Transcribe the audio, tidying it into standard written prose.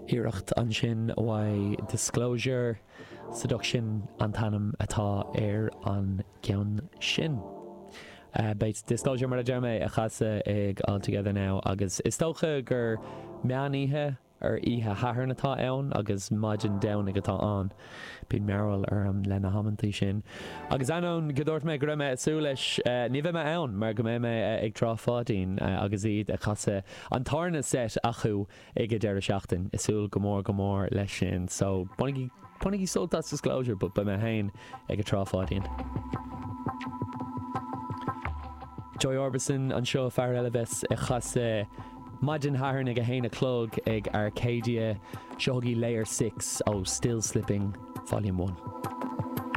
Iarracht ansin uaidh Disclosure, Seduction an t-ainm atá ar an gceann sin. Beidh Disclosure, mar a deir mé, ag casadh ag All Together Now agus is dócha gur meán oíche ar oíche Shathairn atá ann agus maidin Domhnaigh atá ann. Bíonn mearbhall orm le na hamantaí sin. Agus ainneoin go dúirt mé go raibh mé ag súil leis, ní bheidh mé ann mar go mbeidh mé ag Trá Pháidín agus iad ag casadh an tarna set acu ag an deireadh seachtain. Ag súil go mór go mór leis sin. So, bainigí, bainigí sult as Disclosure but beidh mé féin ag an Trá Pháidín. Joy Orbison anseo, fear eile a bheas ag casadh maidin Shathairn ag a haon a chlog ag Arcadia. Seo chugaibh Layer 6 ó Still Slipping Volume 1.